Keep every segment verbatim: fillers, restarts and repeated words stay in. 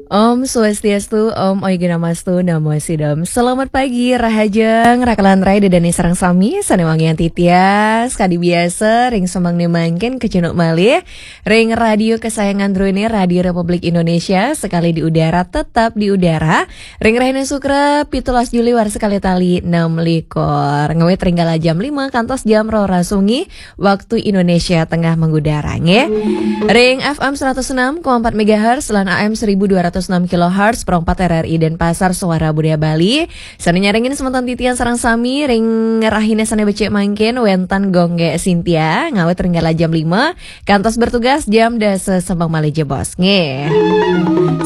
Om Swastiastu, Om Oigana Mastu, Namo Sidam. Selamat pagi, rahajeng, rakalan rai dedane sareng sami, sane wangian titiang, kadi biasa, ring semeng ne mangkin kecunduk malih, ring radio kesayangan druene, Radio Republik Indonesia, sekali di udara, tetap di udara, ring rahina Sukra, pitulas Juli warsa kalih tali enam likur. Ngawit ring kala jam lima kantos jam roras wengi, waktu Indonesia Tengah mengudara, nggih. Ring F M seratus enam koma empat megahertz lan A M seribu dua ratus enam kilohertz, perempat R R I Denpasar, Suara Budaya Bali. Sane nyarengin semeton titiang sareng sami ring rahina sane becik mangkin wenten Gong Gek Sintia, ngawit ring kala jam lima, kantos bertugas jam dasa semeng malih jebos, nggih.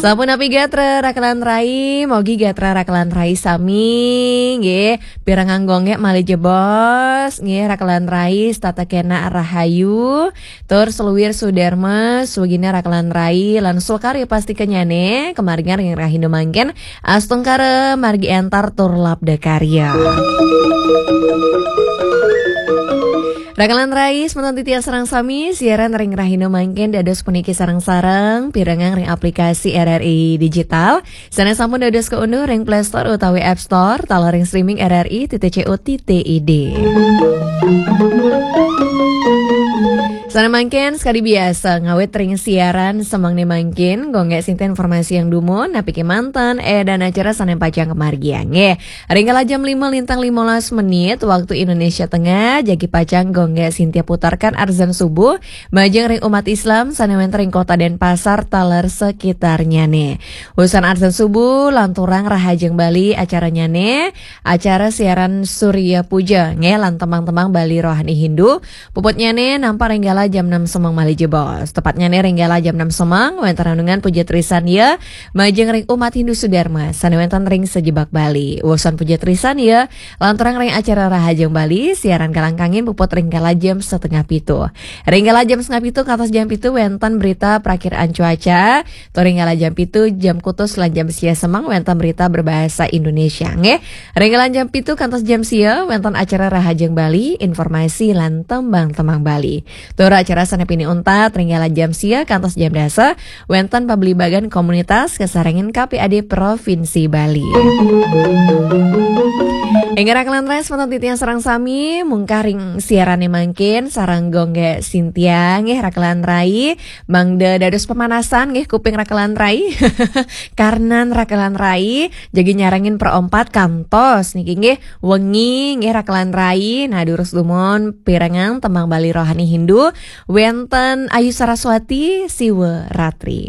Sampun napi gatra rakalan rai, mogi gatra rakalan rai sami, nggih. Pirengang Gong Gek malih jebos, nggih, rakalan rai, setata kenak rahayu, tur seluir sudarma, swagina rakalan rai, lan swakarya pastikannyane, kamaringan ring rahina mangkin, astungkara, margi entar, tur labda karya. Rakalan rai, semeton titiang sareng sami, siaran ring rahina mangkin dados puniki sareng-sareng, pirengang ring aplikasi R R I Digital, sane sampun dados kaunduh ring Play Store utawi App Store, taler ring streaming R R I titik co titik I D. Sane mangkin, sekadi biasa, ngawit ring siaran semengne mangkin, Gong Gek Sintia informasi yang dumun, napi kemanten, eh, dan acara sane pacang kamargiang, nggih. Ring kala jam lima lintang limolas menit, waktu Indonesia Tengah, jagi pacang Gong Gek Sintia putarkan adzan subuh, majeng ring umat Islam, sane wenten ring Kota Denpasar, taler sekitarnyane. Usan adzan subuh, lanturang rahajeng Bali acaranyane, acara siaran Surya Puja, nggih, lan tembang-tembang Bali rohani Hindu, puputnyane nampak ring kala jam enam semeng malih jebos. Tepatnyane ring kala jam enam semeng, wenten renungan puja trisandya, majeng ring umat Hindu sudarma, sane wenten ring sajebag Bali. Usan puja trisandya, lanturang ring acara rahajeng Bali, siaran kalangkangin puput ring kala jam setengah pitu. Ring kala jam setengah pitu kantos jam pitu wenten berita prakiraan cuaca, tur ring kala jam pitu, jam kutus lan jam sia semeng wenten berita berbahasa Indonesia, nggih. Ring kala jam pitu kantos jam sia wenten acara Rahajeng Bali, informasi lan tembang-tembang Bali. Tur acara sane pinih untat ring kala jam sia kantos jam dasa wenten pabligbagan komunitas kasarengin K P A D Provinsi Bali. Inggih rakalan rai semeton titiang sareng sami, mungkah ring siarane mangkin sareng Gong Gek Sintia, nggih, rakalan rai, mangda dados pemanasan, nggih, kuping rakalan rai. Karnan rakalan rai, jagi nyarengin perempat kantos niki, nggih, wengi, nggih, rakalan rai. Nah, durus dumun pirengang tembang Bali rohani Hindu, wenten Ayu Saraswati, Siwa Ratri.